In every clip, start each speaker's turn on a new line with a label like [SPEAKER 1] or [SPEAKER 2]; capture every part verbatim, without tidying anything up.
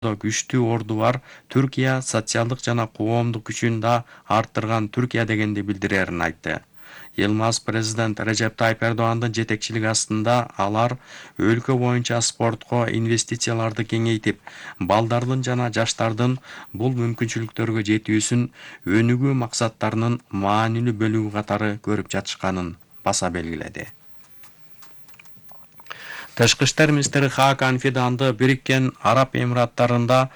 [SPEAKER 1] күчтүү орду бар Түркия социалдык жана коомдук күчүн да арттырган Түркия дегенди билдирерин айтты. Yılmaz президент Recep Tayyip Erdoğan'дын жетекчилиги астында алар өлкө боюнча спортко инвестицияларды кеңейтип, балдардын жана жаштардын бул мүмкүнчүлүктөргө жетүүсүн өнүгүү максаттарынын маанилүү бөлүгү катары көрүп жатышканын баса белгиледи. Тышкы иштер министри Хакан Фиданды Бириккен Араб Эмираттарында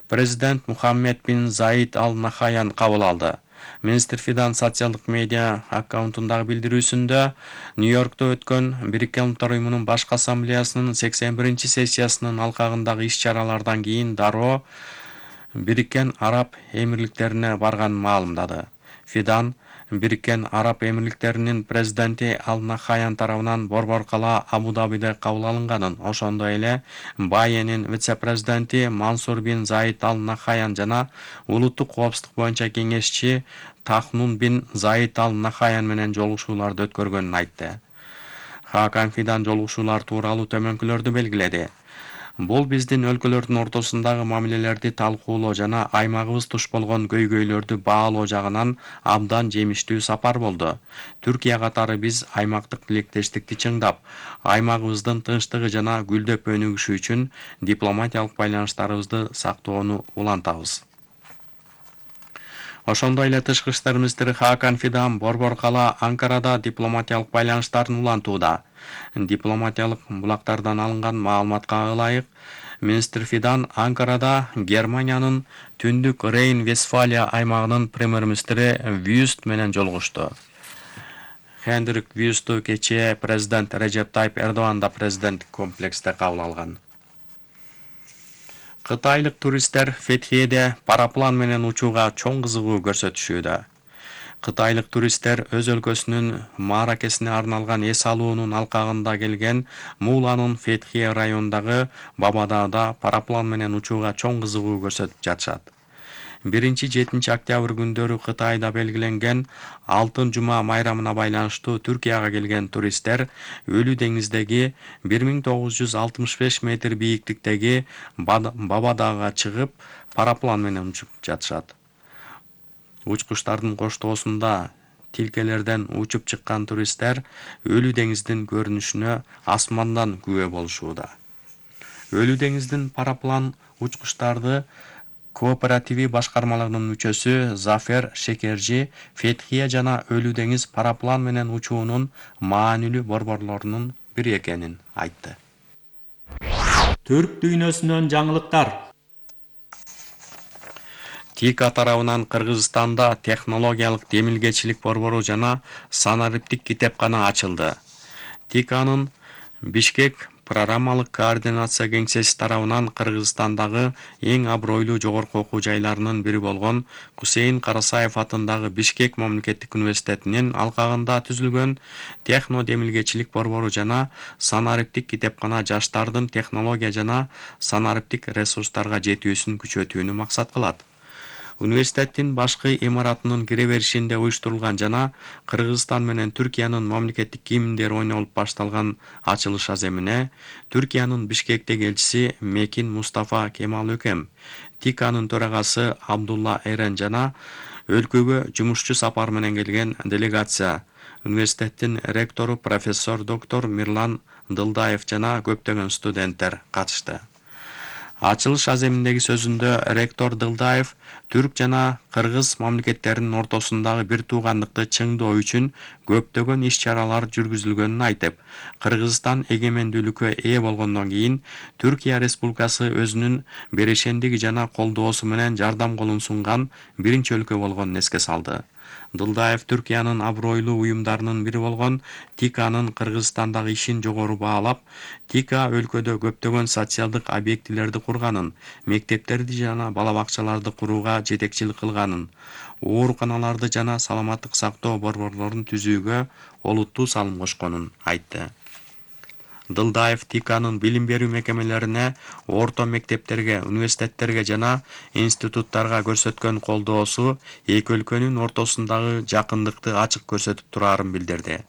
[SPEAKER 1] президент Мухаммед бин Заид Ал Нахаян кабыл алды. Министр Фидан социалдык медиа аккаунтундагы билдирүүсүндө Нью-Йоркто өткөн Бириккен Улуттар уюмунун башкы ассамблеясынын сексен биринчи сессиясынын алкагындагы иш-чаралардан кийин дароо Бириккен Араб Эмирликтерине барганын маалымдады. Фидан Бириккен Араб Эмирликтеринин президенти Ал Нахаян тарабынан Борбор кала Абу-Дабиде кабыл алынганын, ошондой эле Баенин вице-президенти Мансур бин Заид Ал Нахаян жана улуттук коопсуздук боюнча кеңешчи Тахнун бин Заид Ал Нахаян менен жолугушууларды өткөргөнүн айтты. Хакан Фидан жолугушуулар тууралуу төмөнкүлөрдү белгиледи. Бул биздин өлкөлөрдүн ортосундагы мамилелерди талкуулоо жана аймагыбыз туш болгон көйгөйлөрдү баалоо жагынан абдан жемиштүү сапар болду. Түркия катары биз аймактык тилектештикти чыңдап, аймагыбыздын тынчтыгы жана гүлдөп өнүгүшү үчүн дипломатиялык байланыштарыбызды сактоону улантабыз. Ошондой эле тышкы иштер министри Хакан Фидан Борбор кала Анкарада дипломатиялык байланыштарын улантууда. Дипломатиялык булактардан алынган маалыматка ылайык, министр Фидан Анкарада Германиянын Түндүк Рейн-Вестфалия аймагынын премьер-министри Вюст менен жолугушту. Хендрик Вюсту кечээ президент Режеп Тайип Эрдоğan да президенттик комплексте кабыл алган. Кытайлык туристтер Фетхиеде параплан менен учууга чоң кызыгуу көрсөтүшүүдө. Кытайлык туристтер өз өлкөсүнүн мааракесине арналган эс алуунун алкагында келген Муланын Фетхие районундагы Бабадаада параплан менен учууга чоң кызыгуу көрсөтүп жатышат. биринчи жетинчи октябрь күндөрү Кытайда белгиленген Алтын жума майрамына байланыштуу Түркияга келген туристтер Өлүү деңиздеги бир миң тогуз жүз алтымыш беш метр бийиктиктеги Бабадаага чыгып, параплан менен учуп жатышат. Учкучтардын коштоосунда тилкелерден учуп чыккан туристтер Өлүү деңиздин көрүнүшүнө асмандан күбө болушууда. Өлүү деңиздин параплан учкучтарды кооперативи башкармалыгынын мүчөсү Зафер Шекержи Фетхия жана Өлүү деңиз параплан менен учуунун маанилүү борборлорунун бири экенин айтты.
[SPEAKER 2] Түрк дүйнөсүнөн жаңылыктар.
[SPEAKER 1] ТИКА тарабынан Кыргызстанда технологиялык демилгечилик борбору жана санариптик китепкана ачылды. ТИКАнын Бишкек программалык координация кеңсеси тарабынан Кыргызстандагы эң абройлуу жогорку окуу жайларынын бири болгон Кусейин Карасаев атындагы Бишкек мамлекеттик университетинин алкагында түзүлгөн техно демилгечилик борбору жана санариптик китепкана жаштардын технология жана санариптик ресурстарга жетүүсүн күчөтүүнү максат кылат. Университеттин башкы имаратынын кире беришинде уюштурулган жана Кыргызстан менен Түркиянын мамлекеттик гимндери ойнолуп башталган ачылыш аземине Түркиянын Бишкектеги элчиси Мекин Мустафа Кемал Өкем, ТИКАнын төрагасы Абдулла Эрен жана өлкөгө жумушчу сапар менен келген делегация, университеттин ректору профессор доктор Мирлан Дылдаев жана көптөгөн студенттер катышты. Ачылыш аземиндеги сөзүндө ректор Дылдаев түрк жана кыргыз мамлекеттеринин ортосундагы бир туугандыкты чыңдоо үчүн көптөгөн иш-чаралар жүргүзүлгөнүн айтып, Кыргызстан эгемендүүлүккө ээ болгондон кийин Түркия Республикасы өзүнүн берешендиги жана колдоосу менен жардам колун сунган биринчи өлкө болгонун эске салды. Дылдаев Түркиянын абройлуу уюмдарынын бири болгон ТИКАнын Кыргызстандагы ишин жогору баалап, ТИКА өлкөдө көптөгөн социалдык объектилерди курганын, мектептерди жана бала бакчаларды курууга жетекчилик кылганын, ооруканаларды жана саламаттык сактоо борборлорун түзүүгө олуттуу салым кошконун айтты. Дылдаев ТИКАнын билим берүү мекемелерине, орто мектептерге, университеттерге жана институттарга көрсөткөн колдоосу эки өлкөнүн ортосундагы жакындыкты ачык көрсөтүп турарын билдирди.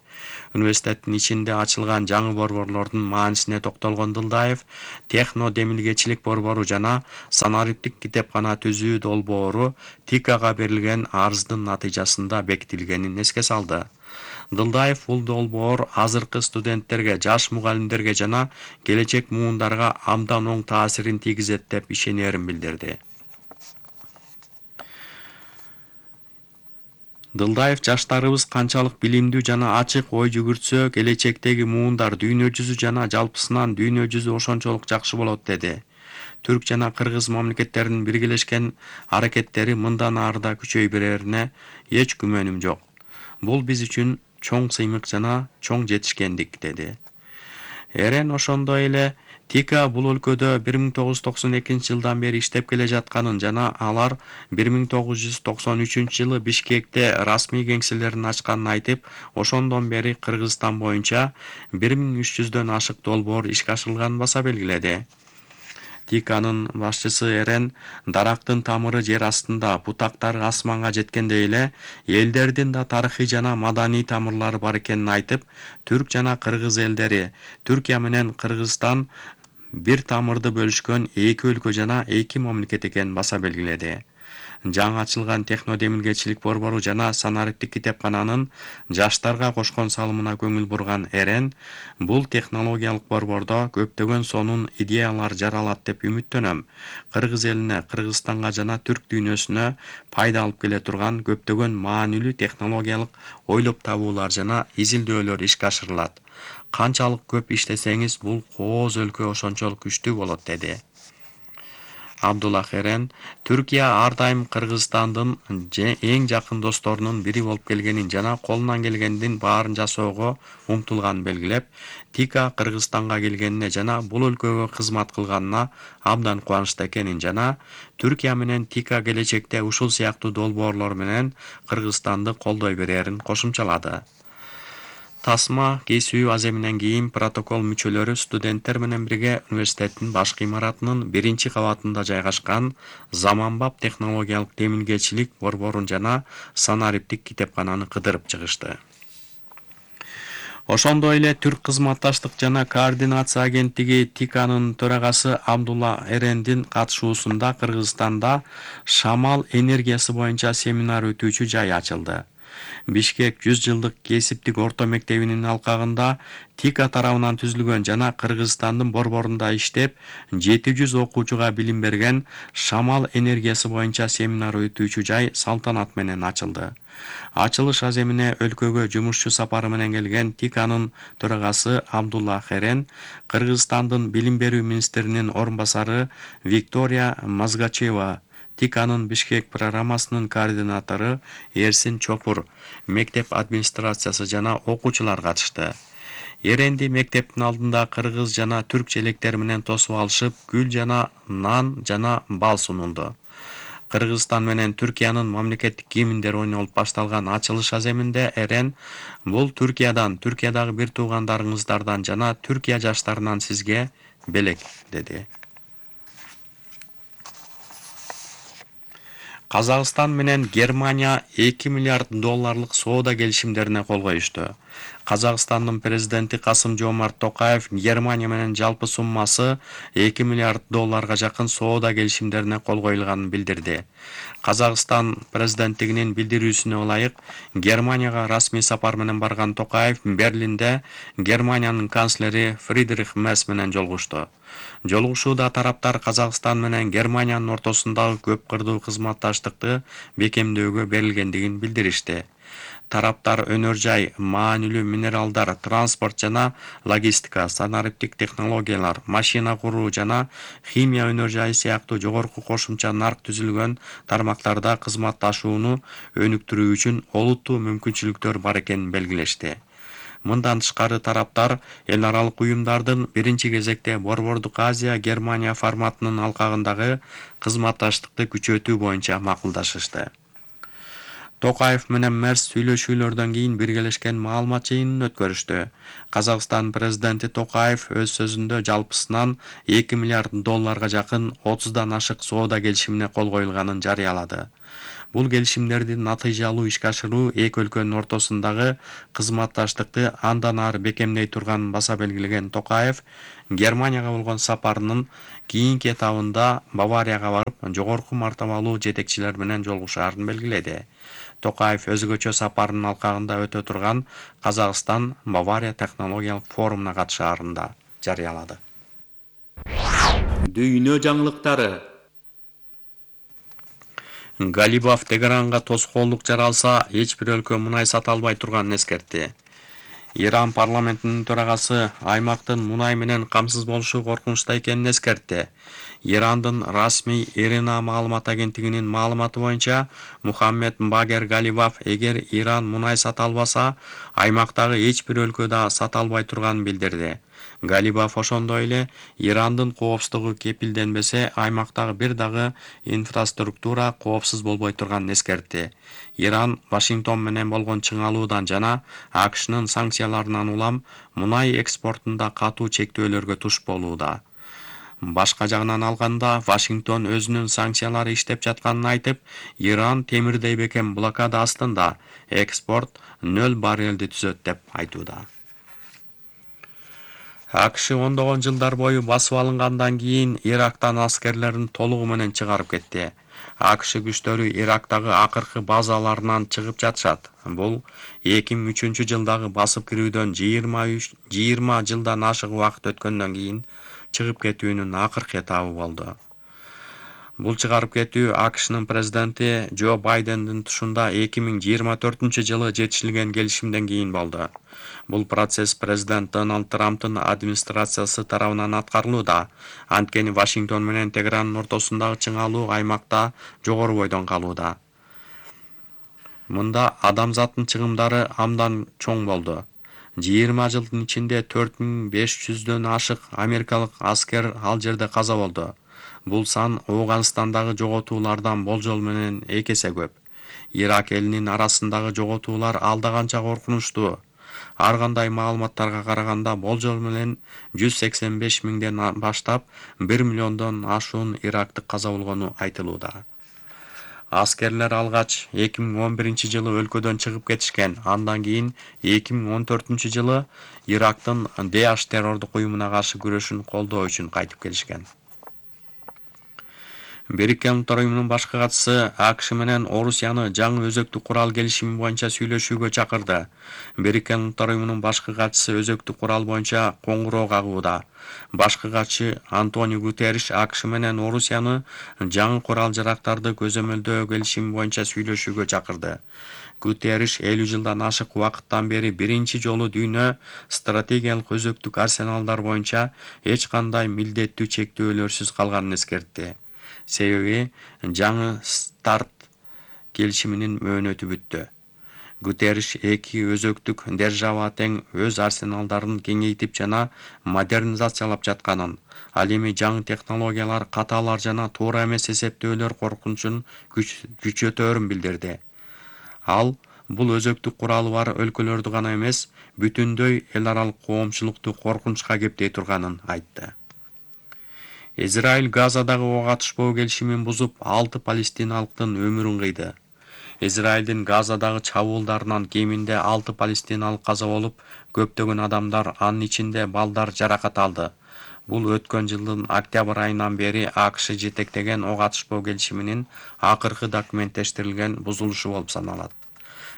[SPEAKER 1] Университеттин ичинде ачылган жаңы борборлордун маанисине токтолгон Дылдаев, техно демилгечилик борбору жана санариптик китепкана түзүү долбоору ТИКага берилген арыздын натыйжасында бекитилгенин эске салды. Дылдаев бул долбоор азыркы студенттерге, жаш мугалимдерге жана келечек муундарга абдан оң таасирин тийгизет деп ишенерин билдирди. Дылдаев жаштарыбыз канчалык билимдүү жана ачык ой жүгүртсө, келечектеги муундар дүйнө жүзү жана жалпысынан дүйнө жүзү ошончолук жакшы болот деди. Түрк жана кыргыз мамлекеттеринин биргелешкен аракеттери мындан ары да күчөй берерине эч күмөнүм жок. Бул биз үчүн чоң сыймык жана чоң жетишкендик, деди. Эрен ошондой эле ТИКа бул өлкөдө бир миң тогуз жүз токсон экинчи жылдан бери иштеп келе жатканын жана алар бир миң тогуз жүз токсон үчүнчү жылы Бишкекте расмий кеңселерин ачканын айтып, ошондон бери Кыргызстан боюнча бир миң үч жүздөн ашык долбоор ишке ашырылганын баса белгиледи. ТИКанын башчысы Эрен дарактын тамыры жер астында, бутактары асманга жеткендей эле элдердин да тарыхый жана маданий тамырлары бар экенин айтып, түрк жана кыргыз элдери, Түркия менен Кыргызстан бир тамырды бөлүшкөн эки өлкө жана эки мамлекет экенин баса белгиледи. Жаңы ачылган техно демилгечилик борбору жана санариптик китепкананын жаштарга кошкон салымына көңүл бурган Эрен, бул технологиялык борбордо көптөгөн сонун идеялар жаралат деп үмүттөнөм. Кыргыз элине, Кыргызстанга жана түрк дүйнөсүнө пайда алып келе турган көптөгөн маанилүү технологиялык ойлоп табуулар жана изилдөөлөр ишке ашырылат. Канчалык көп иштесеңиз, бул кооз өлкө ошончолук күчтүү болот, деди. Абдуллах Эрен Түркия ар дайым Кыргызстандын эң жакын досторунун бири болуп келгенин жана колунан келгендин баарын жасоого умтулганын белгилеп, ТИКа Кыргызстанга келгенине жана бул өлкөгө кызмат кылганына абдан кубанычта экенин жана Түркия менен ТИКа келечекте ушул сыяктуу долбоорлор менен Кыргызстанды колдой берерин кошумчалады. Тасма кесүү аземинен кийин протокол мүчөлөрү студенттер менен бирге университеттин башкы имаратынын биринчи кабатында жайгашкан заманбап технологиялык демилгечилик борборун жана санариптик китепкананы кыдырып чыгышты. Ошондой эле Түрк кызматташтык жана координация агенттиги ТИКанын төрагасы Абдулла Эрендин катышуусунда Кыргызстанда шамал энергиясы боюнча семинар өтүүчү жай ачылды. Бишкек жүз жылдык кесиптик орто мектебинин алкагында ТИКа тарабынан түзүлгөн жана Кыргызстандын борборунда иштеп, жети жүз окуучуга билим берген шамал энергиясы боюнча семинар өтүүчү жай салтанат менен ачылды. Ачылыш аземине өлкөгө жумушчу сапары менен келген ТИКанын төрагасы Абдулла Эрен, Кыргызстандын билим берүү министринин орун басары Виктория Мазгачева, ТИКанын Бишкек программасынын координатору Эрсин Чопур, мектеп администрациясы жана окуучулар катышты. Эренди мектептин алдында кыргыз жана түрк желектери менен тосуп алышып, гүл жана нан жана бал сунулду. Кыргызстан менен Түркиянын мамлекеттик гимндери ойнолуп башталган ачылыш аземинде Эрен бул Түркиядан, Түркиядагы бир туугандарыңыздардан жана Түркия жаштарынан сизге белек, деди. Казакстан менен Германия эки миллиард долларлык соода келишимдерине кол коюшту. Казакстандын президенти Касым-Жомарт Токаев Германия менен жалпы суммасы эки миллиард долларга жакын соода келишимдерине кол коюлганын билдирди. Казакстан президенттигинин билдирүүсүнө ылайык, Германияга расмий сапар менен барган Токаев Берлинде Германиянын канцлери Фридрих Мерц менен жолугушту. Жолугушууда тараптар Казакстан менен Германиянын ортосундагы көп кырдуу кызматташтыкты бекемдөөгө берилгендигин билдиришти. Тараптар өнөр жай, маанилүү минералдар, транспорт жана логистика, санариптик технологиялар, машина куруу жана химия өнөр жайы сыяктуу жогорку кошумча нарк түзүлгөн тармактарда кызматташууну өнүктүрүү үчүн олуттуу мүмкүнчүлүктөр бар экенин белгилешти. Мындан тышкары тараптар эл аралык уюмдардын биринчи кезекте Борбордук Азия Германия форматынын алкагындагы кызматташтыкты күчөтүү боюнча макулдашышты. Токаев менен Мерц сүйлөшүүлөрдөн кийин биргелешкен маалымат жыйынын өткөрүштү. Казакстан президенти Токаев өз сөзүндө жалпысынан эки миллиард долларга жакын отуздан ашык соода келишимине кол коюлганын жарыялады. Бул келишимдерди натыйжалуу ишке ашыруу эки өлкөнүн ортосундагы кызматташтыкты андан ары бекемдей турганын баса белгилеген Токаев Германияга болгон сапарынын кийинки этабында Баварияга барып, жогорку мартабалуу жетекчилер менен жолугушаарын белгиледи. Токаев өзгөчө сапарынын алкагында өтө турган Казакстан Бавария технологиялык форумуна катышаарын да жарыялады.
[SPEAKER 2] Дүйнө жаңылыктары.
[SPEAKER 1] Галибаф Тегеранга тоскоолдук жаралса, эч бир өлкө мунай сата албай турганын эскертти. Иран парламентинин төрагасы аймактын мунай менен камсыз болушу коркунучта экенин эскертти. Ирандын расмий Ирина маалымат агенттигинин маалыматы боюнча, Мухаммед Багер Галибаф эгер Иран мунай сата албаса, аймактагы эч бир өлкө да сата албай турганын билдирди. Галибаф ошондой эле Ирандын коопсуздугу кепилденбесе, аймактагы бир дагы инфраструктура коопсуз болбой турганын эскертти. Иран Вашингтон менен болгон чыңалуудан жана АКШнын санкцияларынан улам мунай экспортунда катуу чектөөлөргө туш болууда. Башка жагынан алганда, Вашингтон өзүнүн санкциялары иштеп жатканын айтып, Иран темирдей бекем блокада астында, экспорт нөл баррелди түзөт деп айтууда. АКШ ондогон жылдар бою басып алынгандан кийин Ирактан аскерлерин толугу менен чыгарып кетти. АКШ күчтөрү Ирактагы акыркы базаларынан чыгып жатышат. Бул эки миң үчүнчү жылдагы басып кирүүдөн жыйырма жылдан ашык убакыт өткөндөн кийин чыгып кетүүнүн акыркы этабы болду. Бул чыгарып кетүү АКШнын президенти Джо Байдендин тушунда эки миң жыйырма төртүнчү жылы жетишилген келишимден кийин болду. Бул процесс президент Дональд Трамптын администрациясы тарабынан аткарылууда. Анткени Вашингтон менен Тегерандын ортосундагы чыңалуу аймакта жогору бойдон калууда. Мында адамзаттын чыгымдары абдан чоң болду. жыйырма жылдын ичинде төрт миң беш жүздөн ашык америкалык аскер ал жерде каза болду. Бул сан Ооганстандагы жоготуулардан болжол менен эки эсе көп. Ирак элинин арасындагы жоготуулар алда канча коркунучтуу. Ар кандай маалыматтарга караганда болжол менен жүз сексен беш миңден баштап бир миллиондон ашуун ирактык каза болгону айтылууда. Аскерлер алгач эки миң он биринчи жылы өлкөдөн чыгып кетишкен. Андан кийин эки миң он төртүнчү жылы Ирактын Даиш террордук уюмуна каршы күрөшүн колдоо үчүн кайтып келишкен. Бириккен Улуттар уюмунун башкы катчысы АКШ менен Орусияны жаңы өзөктүк курал келишими боюнча сүйлөшүүгө чакырды. Бириккен Улуттар уюмунун башкы катчысы өзөктүк курал боюнча коңгуроо кагууда. Башкы катчы Антонио Гутерриш АКШ менен Орусияны жаңы курал-жарактарды көзөмөлдөө келишими боюнча сүйлөшүүгө чакырды. Гутерриш элүү жылдан ашык убакыттан бери биринчи жолу дүйнө стратегиялык өзөктүк арсеналдар боюнча эч кандай милдеттүү чектөөлөрсүз калганын эскертти. Себеби жаңы старт келишиминин мөөнөтү бүттү. Гутерриш эки өзөктүк держава тең өз арсеналдарын кеңейтип жана модернизациялап жатканын, ал эми жаңы технологиялар, каталар жана туура эмес эсептөөлөр коркунучун күчөтөөрүн билдирди. Ал бул өзөктүк куралы бар өлкөлөрдү гана эмес, бүтүндөй эл аралык коомчулукту коркунучка кептей турганын айтты. Израиль Газадагы ок атышпоо келишимин бузуп, алты палестиналыктын өмүрүн кыйды. Израилдин Газадагы чабуулдарынан кеминде алты палестиналык каза болуп, көптөгөн адамдар, анын ичинде балдар жаракат алды. Бул өткөн жылдын октябрь айынан бери АКШ жетектеген ок атышпоо келишиминин акыркы документтештирилген бузулушу болуп саналат.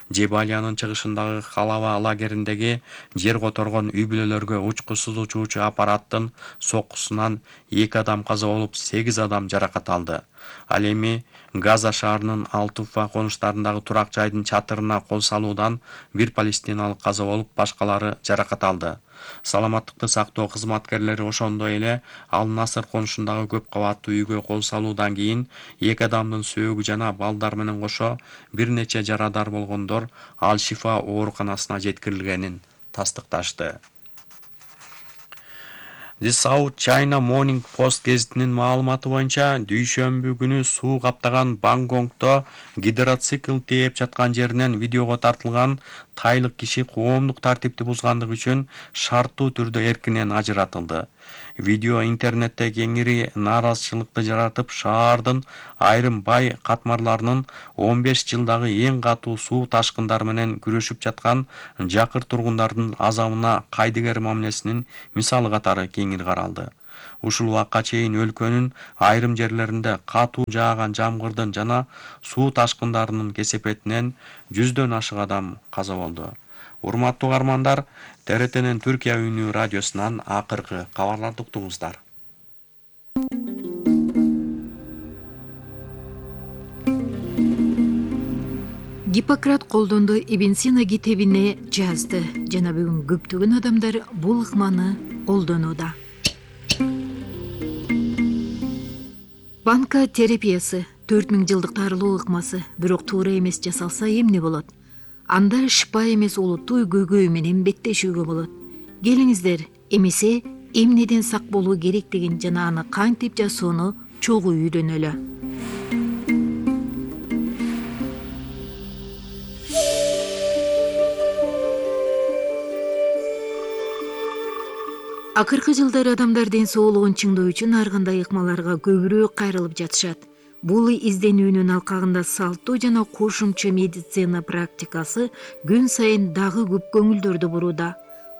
[SPEAKER 1] Жебалиянын чыгышындагы Халава лагериндеги жер которгон үй-бүлөлөргө учкусуз учуучу аппараттын соккусунан эки адам каза болуп, сегиз адам жаракат алды. Ал эми Газа шаарынын Алтуфа конуштарындагы турак жайдын чатырына кол салуудан бир палестиналык каза болуп, башкалары жаракат алды. Саламаттыкты сактоо кызматкерлери ошондой эле Ал-Насыр конушундагы көп кабаттуу үйгө кол салуудан кийин эки адамдын сөөгү жана балдар менен кошо бир нече жарадар болгондор Ал-Шифа ооруканасына жеткирилгенин тастыкташты. The South China Morning Post гезитинин маалыматы боюнча, дүйшөмбү күнү суу каптаган Бангкокто гидроцикл тээп жаткан жеринен видеого тартылган тайлык киши коомдук тартипти бузгандыгы үчүн шарттуу түрдө эркинен ажыратылды. Видео интернетте кеңири нааразычылыкты жаратып, шаардын айрым бай катмарларынын он беш жылдагы эң катуу суу ташкындары менен күрөшүп жаткан жакыр тургундардын азабына кайдыгер мамилесинин мисалы катары кеңири каралды. Ушул убакка чейин өлкөнүн айрым жерлеринде катуу жааган жамгырдын жана суу ташкындарынын кесепетинен жүздөн ашык адам каза болду. Урматтуу угармандар, Т Р Т'нин Түркия үнү радиосунан акыркы кабарларды уктуңуздар.
[SPEAKER 3] Гиппократ колдонду Ибн Сина китебине жазды жана бүгүн көптөгөн адамдар бул ыкманы колдонууда. Банка терапиясы төрт миң жылдык тарылуу ыкмасы, бирок туура эмес жасалса эмне болот? Анда шыпа эмес олуттуу көйгөй менен беттешүүгө болот. Келиңиздер, эмесе эмнеден сак болуу керектигин жана аны кантип жасоону чогуу үйрөнөлү. Акыркы жылдары адамдар ден соолугун чыңдоо үчүн ар кандай ыкмаларга көбүрөөк кайрылып жатышат. Бул изденүүнүн алкагында салттуу жана кошумча медицина практикасы күн сайын дагы көп көңүлдөрдү бурууда.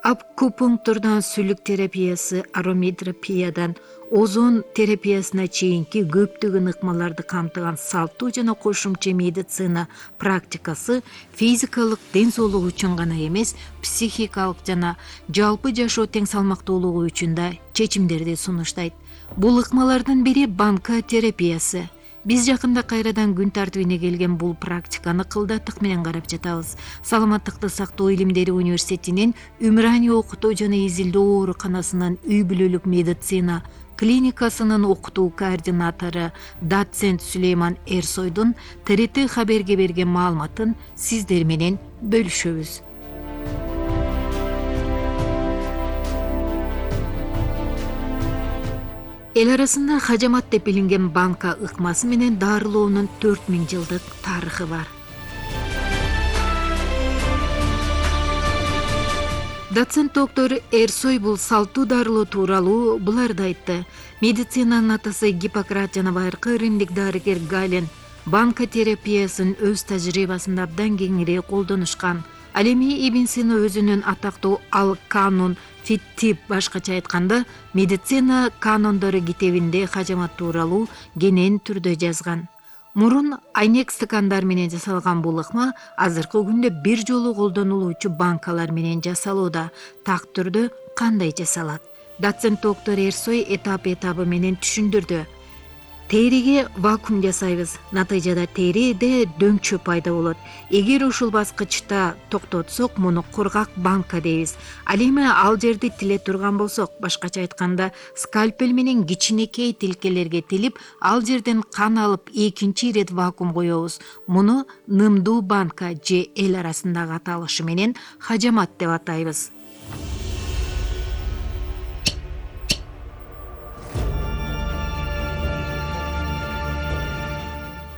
[SPEAKER 3] Акупунктурдан сүлүк терапиясы, ароматерапиядан озон терапиясына чейинки көптөгөн ыкмаларды камтыган салттуу жана кошумча медицина практикасы физикалык ден соолук үчүн гана эмес, психикалык жана жалпы жашоо тең салмактуулугу үчүн да чечимдерди сунуштайт. Бул ыкмалардын бири банка терапиясы. Биз жакында кайрадан күн тартибине келген бул практиканы кылдаттык менен карап жатабыз. Саламаттыкты сактоо илимдери университетинин Умрани окутуу жана изилдөө ооруканасынын үй бүлөлүк медицина клиникасынын окутуу координатору доцент Сулейман Эрсойдун Т Р Т хаберге берген маалыматын сиздер менен бөлүшөбүз. Эл арасында хажамат деп билинген банка ыкмасы менен дарылоонун төрт миң жылдык тарыхы бар. Доцент доктор Эрсой бул салттуу дарылоо тууралуу буларды айтты. Медицинанын атасы Гиппократ жана байыркы римдик дарыгер Гален банка терапиясын өз тажрыйбасында абдан кеңири колдонушкан. Ал эми Ибн Сина өзүнүн атактуу Ал канун фиттип, башкача айтканда медицина канондору китебинде хажамат тууралуу кенен түрдө жазган. Мурун айнек стакандар менен жасалган бул ыкма азыркы күндө бир жолу колдонулуучу банкалар менен жасалууда. Так түрдө кандай жасалат? Доцент доктор Эрсой этап этабы менен түшүндүрдү. Териге вакуум жасайбыз. Натыйжада териде дөмчө пайда болот. Эгер ушул баскычта токтотсок, муну кургак банка дейбиз. Ал эми ал жерди тиле турган болсок, башкача айтканда, скальпель менен кичинекей тилкелерге тилип, ал жерден кан алып, экинчи ирет вакуум коебуз. Муну нымдуу банка же эл арасындагы аталышы менен хажамат деп атайбыз.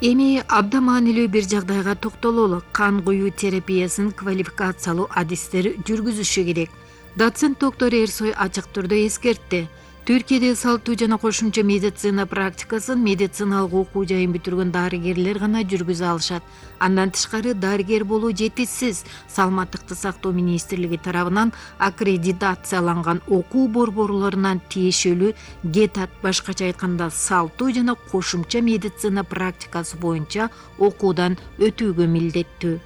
[SPEAKER 3] Эми абдан маанилүү бир жагдайга токтололу. Кан куюу терапиясын квалификациялуу адистер жүргүзүшү керек. Доцент доктор Эрсой ачык түрдө эскертти. Түркияда салттуу жана кошумча медицина практикасын медициналык окуу жайын бүтүргөн дарыгерлер гана жүргүзө алышат. Андан тышкары дарыгер болуу жетишсиз. Саламаттыкты сактоо министрлиги тарабынан аккредитацияланган окуу борборлорунан тиешелүү гетат, башкача айтканда салттуу жана кошумча медицина практикасы боюнча окуудан өтүүгө милдеттүү.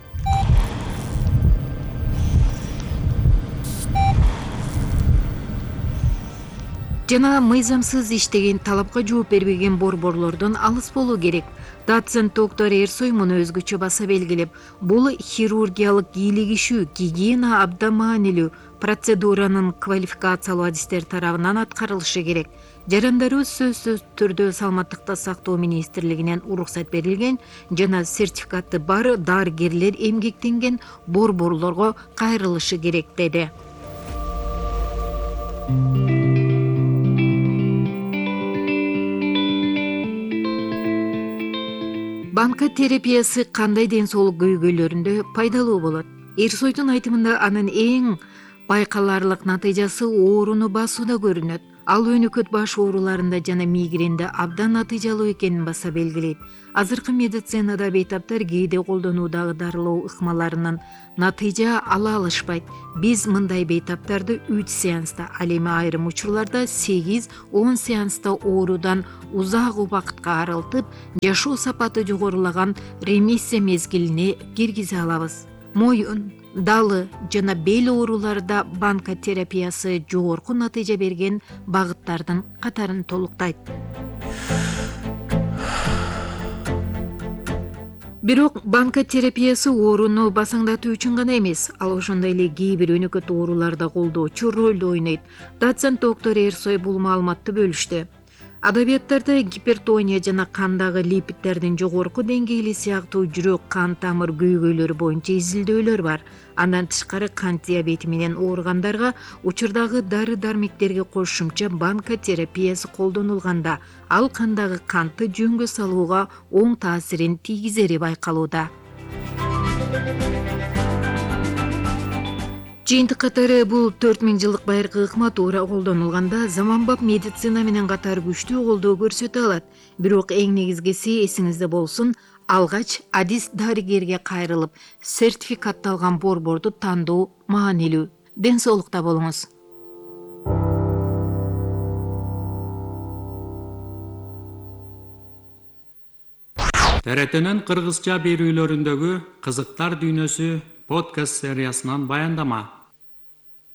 [SPEAKER 3] Жана мыйзамсыз иштеген, талапка жооп бербеген борборлордон алыс болуу керек. Доцент доктор Эрсой муну өзгөчө баса белгилеп, бул хирургиялык кийлигишүү, гигиена абдан маанилүү процедуранын квалификациялуу адистер тарабынан аткарылышы керек. Жарандарыбыз сөзсүз түрдө саламаттыкты сактоо министрлигинен уруксат берилген жана сертификаты бар дарыгерлер эмгектенген борборлорго кайрылышы керек, деди. Банка терапиясы кандай ден соолук көйгөйлөрүндө пайдалуу болот? Эрсойдун айтымында анын эң байкаларлык натыйжасы ооруну басууда көрүнөт. Ал өнөкөт баш ооруларында жана мигренде абдан натыйжалуу экенин баса белгилейт. Азыркы медицинада бейтаптар кээде колдонуудагы дарылоо ыкмаларынан натыйжа ала алышпайт. Биз мындай бейтаптарды үч сеанста, ал эми айрым учурларда сегиз он сеанста оорудан узак убакытка арылтып, жашоо сапаты жогорулаган ремиссия мезгилине киргизе алабыз. Моюн, далы жана бел ооруларда банка терапиясы жогорку натыйжа берген багыттардын катарын толуктайт. Бирок банка терапиясы ооруну басаңдатуу үчүн гана эмес, ал ошондой эле кээ бир өнөкөт ооруларда колдоочу ролду ойнойт. Доцент доктор Эрсой бул маалыматты бөлүштү. Адабияттарда гипертония жана кандагы липиддердин жогорку деңгээли сыяктуу жүрөк кан тамыр көйгөйлөрү боюнча изилдөөлөр бар. Андан тышкары кант диабети менен ооругандарга учурдагы дары-дармектерге кошумча банка терапиясы колдонулганда, ал кандагы кантты жөнгө салууга оң таасирин тийгизери байкалууда. Жыйынтык катары бул төрт миң жылдык байыркы ыкма туура колдонулганда заманбап медицина менен катар күчтүү колдоо көрсөтө алат. Бирок эң негизгиси эсиңизде болсун, алгач адис дарыгерге кайрылып, сертификатталган борборду тандоо маанилүү. Ден соолукта болуңуз.
[SPEAKER 2] Т Р Т'нин кыргызча берүүлөрүндөгү кызыктар дүйнөсү подкаст сериясынан баяндама.